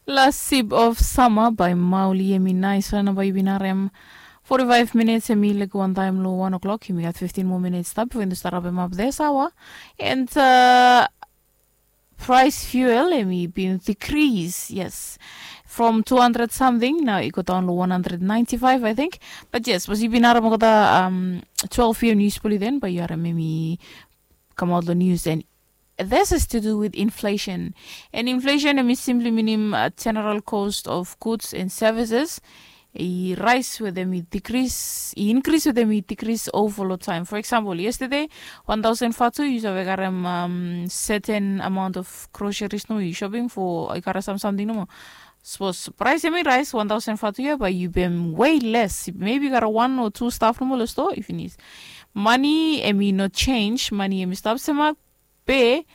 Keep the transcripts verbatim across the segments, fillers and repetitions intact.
Las sip of sama bai mauli em i nais ran bai yu bin harem. Forty-five minutes em i lek wan taim lo wan o'clock em i gat fifteen more minutes stap before yu start up em up this hour. And uh, price fuel em i bin decrease, yes, from two hundred something now i go down lo one hundred ninety-five, I think. But yes, was yu bin harem kota um, twelve p m news poli then bai yu harem em i come out lo news and this is to do with inflation. And inflation em i simply meaning uh, general cost of goods and services. I rise with them, i decrease, i increase with them, i decrease over lo time. For example, yesterday, one thousand fatu yu save karem um, certain amount of groceries no yu shopping for i kara some something no more. Suppose price em i rise one thousand fatu ya, but yu bem way less. Maybe kara one or two stuff no more lo store i finish. Money em i no change, money em i stop semak be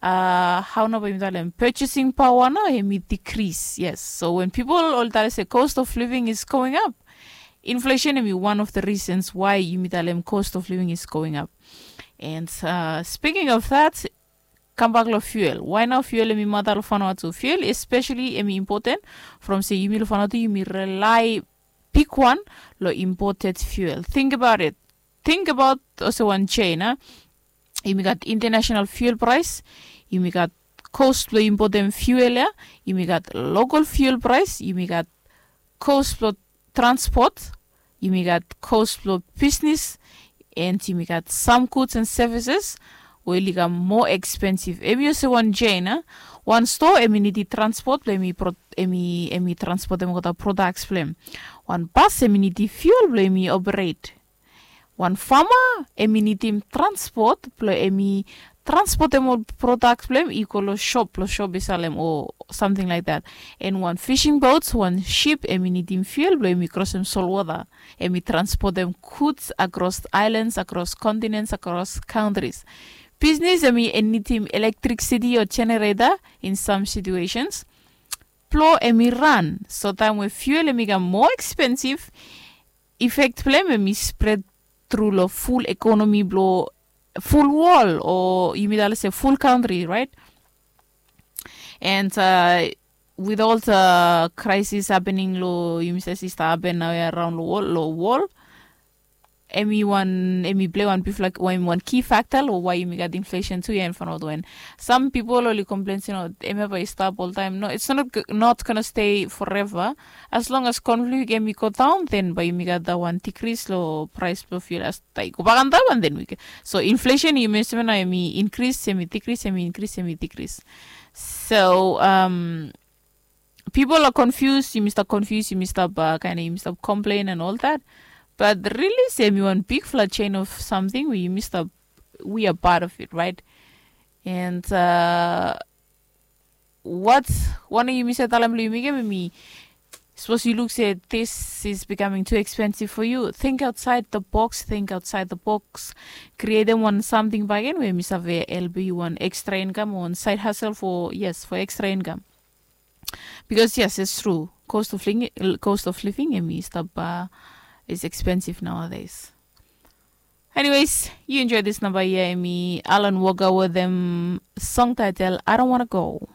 uh, how no bai mi talem purchasing power no em i decrease. Yes, so when people all talem se cost of living is going up, inflation em i one of the reasons why yumi talem cost of living is going up. And uh, speaking of that, kambak lo fuel. Why now fuel em i mata lo fanua tu? Fuel especially em i important from se yumi lo fanua tu yumi rely big one lo imported fuel. Think about it. Think about also one chain, huh? Yumi gat international fuel price, yumi gat cost blo importem fuel ya, yumi gat local fuel price, yumi gat cost blo transport, yumi gat cost blo business, and yumi gat some goods and services we oli kam more expensive. Em yu se wan chain, huh? Wan store em i nidi transport blo em i transportem kota products blo em. Wan bus em i nidi fuel blo em i operate. Wan fama em i nidim transport blo em i transportem ol product blo em i go lo shop blo shop i salem o something like that. And wan fishing boats, wan ship em i nidim fuel blo em i krosem solwota. Em i transportem goods across islands, across continents, across countries. Business em i nidim electricity o generator in some situations blo em i ran. So taim we fuel em i kam more expensive, effect blo em em i spread tru lo full economy blo full world o yumi talem se full country, right? And uh, with all the crisis happening lo yumi save si stap happen nao ya around lo world, lo world em i wan em i play wan big like o em i wan key factor lo why yumi gat inflation tu ya in front of when some people oli complain se no em ya bai stop all time. No, it's not, not gonna stay forever. As long as conflict em i go down then bai yumi gat that one decrease lo price blo fuel as tai go back on that one then we can. So inflation yumi estimate nao em i increase, em i decrease, em i increase, em i decrease. So um, people are confused, yumi stap confused, yumi stap uh, kind of yumi stap complain and all that. But really se em i wan big fla chain of something we yumi stap, we are part of it, right? And uh, what one of yumi se talem lo yumi gem em i suppose you look say this is becoming too expensive for you, think outside the box, think outside the box. Create them one something back in where mi save help you one extra income, one side hustle for, yes, for extra income. Because yes, it's true, cost of living, cost of living em i stap uh, is expensive nowadays. Anyways, you enjoy this number here, em i Alan Walker with them song title I Don't Wanna Go.